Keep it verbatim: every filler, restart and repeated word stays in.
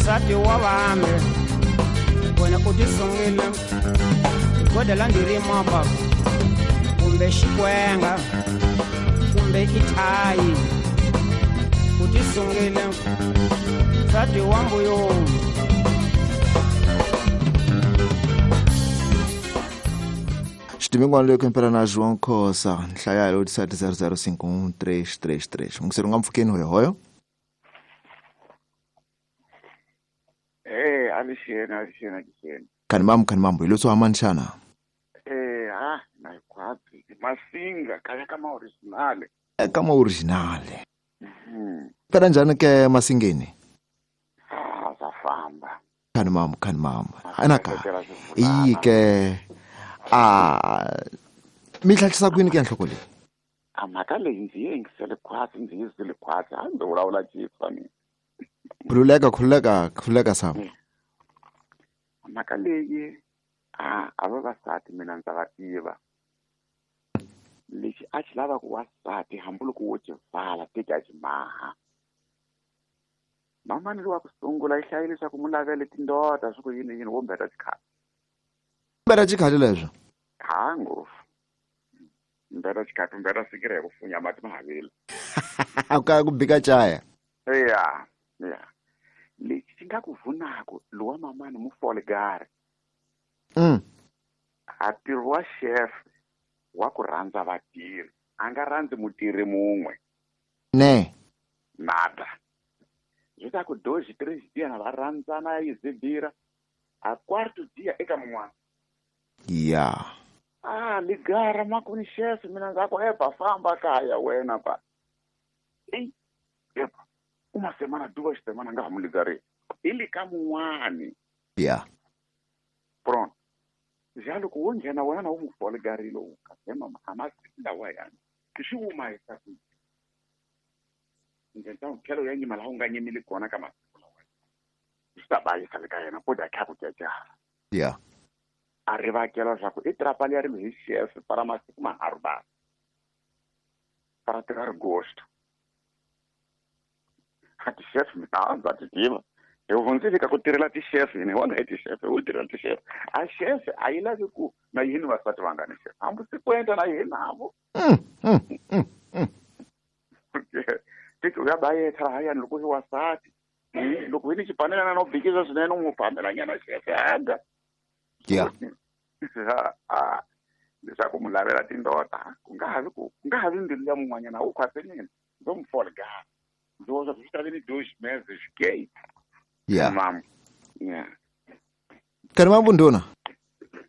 Nsati wa vambe wena u tisungile godela ndzi mapa kumbe xikwenga kumbe ithayi u tisungile nsati wa mbuyo. Xidimingwana leyo kempela na João Khosa nhlaya yo sete zero zero cinco um três três três. Mungiseri nga mpfukeni hoyo hoyo. Eh, alixeni alixeni alixeni. Kani mamu kani mambo ilotso amanchana. Eh, ah, na kwapi masinga kaya kama original. Eh, kama original. Mhm. Pera njani ke masingeni? Ah, zafamba. Kani mamu kani mamu. Anaka. Iyi ke ah mitlhatlhisa kwini ke nhloko leyi? A mhaka leyi ndzi yi yingisele khwatsi ndzi yi zwile khwatsi a ndzi vulavula chifa mina. Khululeka khululeka khululeka Sam. Mhaka leyi a a vavasati mina ndza va tiva. Lexi a xi lava ku wasati hambiloko wo xi vala teki a xi maha. Mamani lowa ku sungula yi hlayile leswaku mu lavele tindota swi ku yini yini wo mbeta xikhale. Mbeta xikhale leswo? Ha ngopfu. Mbeta xikhale mbeta sikire ku funya mati mahavile. Ka ku bika chaya. Ya. Ya. Lexi xi nga ku vunako lowa mamani mu fole gari. Mm. A ntirho wa chef wa ku rhandza vatirhi a nga rhandzi mutirhi mun'we. Ne. Nada. Zwi ta ku dois três dias na va rhandzana yi zibira a quarto dia eka mun'wana. Ya. Ah, ligara makuni chef mina ndza ku epa famba kaya wena pa. Ei, epa. Uma semana duas semana nga mu ligare. Ili ka mun'wani. Ya. Pronto. Já loko wo nghena wena na wu n'wi foligarile wu kahle mama a masiku lawa yani swi wuma hi sa ku ndlela tlhelo ya nyima laha u nga nyimili kona ka masiku lawa swi ta bayisa le ka yena ko dya kha ku cacala. Ya. A ri vakela leswaku i trapa liya ri hi chef para masiku manharhu ba para tirha ri gosto a ti-chef mina ndza ti tiva. Hi hundzile ka ku tirhela ti-chef hina hi wona hi ti-chef hi tirhela ti-chef a chef a yi lavi ku na yini vasati va nga ni chef hambi sikwenda na yini navo. Tiki u ya bayetha lahayani loko hi wasati loko hi ni xipanelana no bikisa swinene u n'wi fambelanyana chef aga. Ya. A leswaku mu lavela tindota ku nga havi ku ku nga havi mbilu ya mun'wanyana wu khwasenini ndzo mu folgara ndzi vona swi ta vi ni dois meses gay. Yeah. Mam. Yeah. Kani mambo ndona?